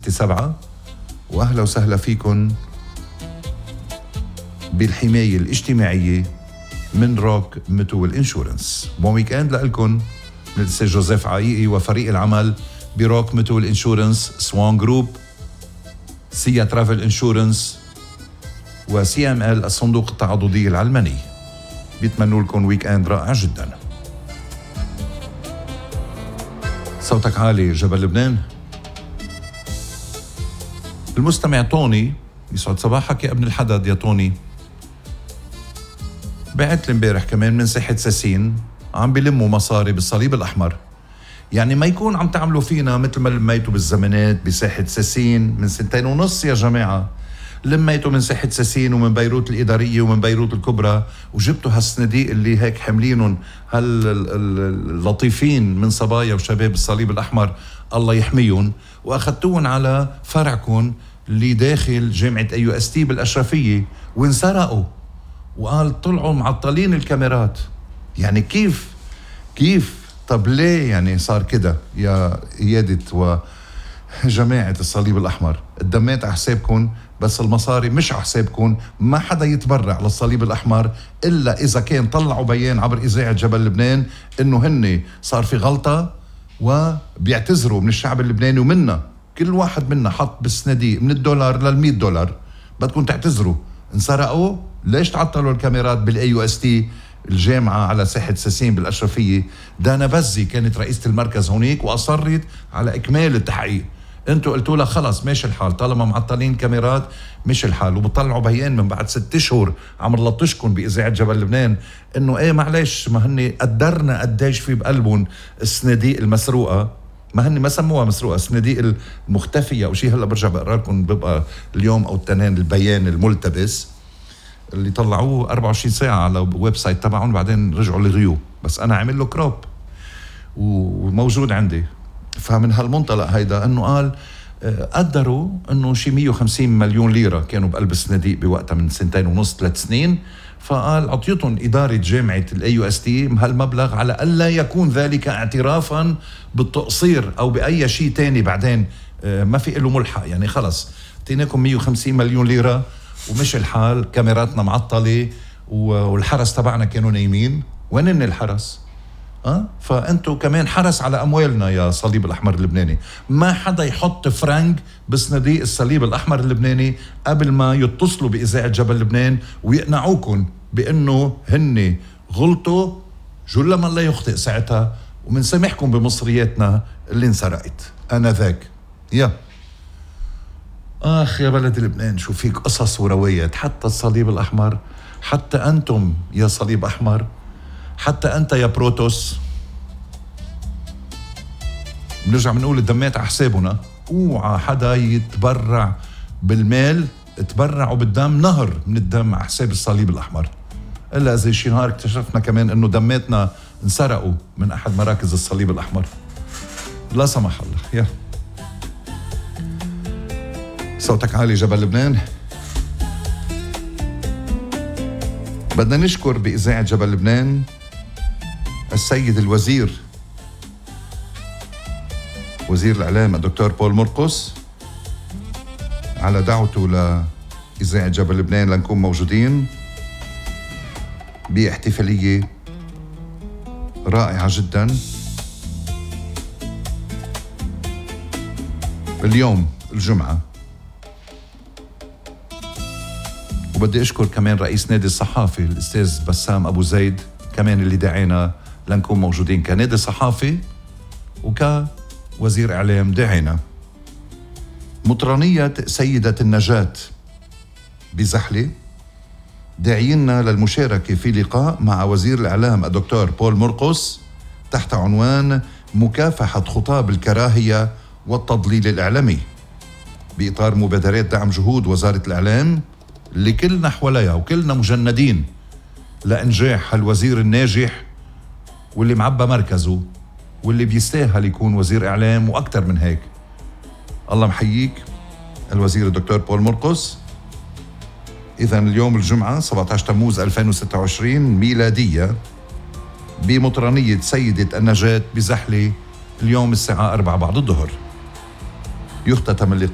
6-7. وأهلا وسهلا فيكن بالحماية الاجتماعية من روك ميتول انشورنس. بون ويكند لألكن من الأستاذ جوزيف عايقي وفريق العمل بروك ميتول انشورنس، سوان جروب، سيا ترافل انشورنس، وسي ام ال الصندوق التعاضدي العلماني. بيتمنوا لكم ويكند رائع جدا. صوتك عالي جبل لبنان. المستمع طوني، يسعد صباحك يا ابن الحدد يا طوني، بعت لي امبارح كمان من ساحة ساسين عم بيلموا مصاري بالصليب الأحمر. يعني ما يكون عم تعملوا فينا مثل ما لميتوا بالزمانات بساحة ساسين من 2.5 سنة يا جماعة. لميتوا من ساحة ساسين ومن بيروت الإدارية ومن بيروت الكبرى، وجبتوا هالصناديق اللي هيك حملينهم هاللطيفين من صبايا وشباب الصليب الأحمر الله يحميهم، وأخذتوهم على فرعكم اللي داخل جامعة AUST بالأشرفية وانسرقوا. وقال طلعوا معطلين الكاميرات. يعني كيف طب ليه يعني صار كده يا إيادة وجماعة الصليب الأحمر؟ الدمات على حسابكم بس المصاري مش على حسابكم. ما حدا يتبرع للصليب الأحمر إلا إذا كان طلعوا بيان عبر إذاعة جبل لبنان إنه هن صار في غلطة وبيعتذروا من الشعب اللبناني ومنا. كل واحد منا حط بالصناديق من $1 لل$100. بدكم تعتذروا. انسرقوا. ليش تعطلوا الكاميرات بالAUST الجامعة على ساحة ساسين بالأشرفية؟ دانا بزي كانت رئيسة المركز هونيك وأصرت على إكمال التحقيق. انتوا قلتوا لها خلص ماشي الحال طالما معطلين كاميرات ماشي الحال، وبطلعوا بيان من بعد 6 أشهر عم نلطشكم بإذاعة جبل لبنان انه ايه معلش ما هن قدرنا قديش في بقلبهم الصناديق المسروقة. ما هن ما سموها مسروقة، الصناديق المختفية أو شيء. هلا برجع بقرا لكم بيبقى اليوم أو التنين البيان الملتبس اللي طلعوه 24 ساعة على ويب سايت تبعهم بعدين رجعوا لغيوه، بس أنا عامل له كروب وموجود عندي. فمن هالمنطلق هيدا انه قال قدروا انه شي 150 مليون ليرة كانوا بقلب الصناديق بوقتها من 2.5-3 سنين. فقال عطيتهم إدارة جامعة AUST هالمبلغ على ألا يكون ذلك اعترافا بالتقصير أو بأي شيء تاني بعدين ما في له ملحق. يعني خلص اعطيناكم 150 مليون ليرة ومش الحال، كاميراتنا معطلة والحرس تبعنا كانوا نايمين. وين الحرس؟ فأنتوا كمان حرس على أموالنا يا صليب الأحمر اللبناني. ما حدا يحط فرنك بصناديق الصليب الأحمر اللبناني قبل ما يتصلوا بإذاعة جبل لبنان ويقنعوكم بأنه هن غلطوا جل من لا يخطئ ساعتها، ومن سامحكم بمصرياتنا اللي انسرقت أنا ذاك. يا بلد لبنان شو فيك قصص وروايات. حتى الصليب الأحمر، حتى أنتم يا صليب أحمر، حتى أنت يا بروتوس. بنرجع بنقول الدمات على حسابنا. اوعى حدا يتبرع بالمال. تبرعوا بالدم، نهر من الدم على حساب الصليب الأحمر. إلا إذا شي نهار اكتشفنا كمان إنه دماتنا انسرقوا من أحد مراكز الصليب الأحمر، لا سمح الله. يا صوتك عالي جبل لبنان. بدنا نشكر بإذاعة جبل لبنان السيد الوزير، وزير الإعلام الدكتور بول مرقس، على دعوته لإذاعة جبل لبنان لنكون موجودين باحتفالية رائعة جدا اليوم الجمعة. وبدي أشكر كمان رئيس نادي الصحافي الأستاذ بسام أبو زيد كمان اللي دعينا لنكون موجودين كنادي صحافي وكوزير إعلام. دعينا مطرانية سيدة النجاة بزحلة داعينا للمشاركة في لقاء مع وزير الإعلام الدكتور بول مرقس تحت عنوان مكافحة خطاب الكراهية والتضليل الإعلامي بإطار مبادرات دعم جهود وزارة الإعلام لكلنا حواليها وكلنا مجندين لإنجاح هالوزير الناجح واللي معبى مركزه واللي بيستاهل يكون وزير إعلام وأكتر من هيك. الله محييك الوزير الدكتور بول مرقس. إذن اليوم الجمعة 17 تموز 2026 ميلادية بمطرانية سيدة النجاة بزحلة اليوم الساعة 4 بعد الظهر. يختتم اللقاء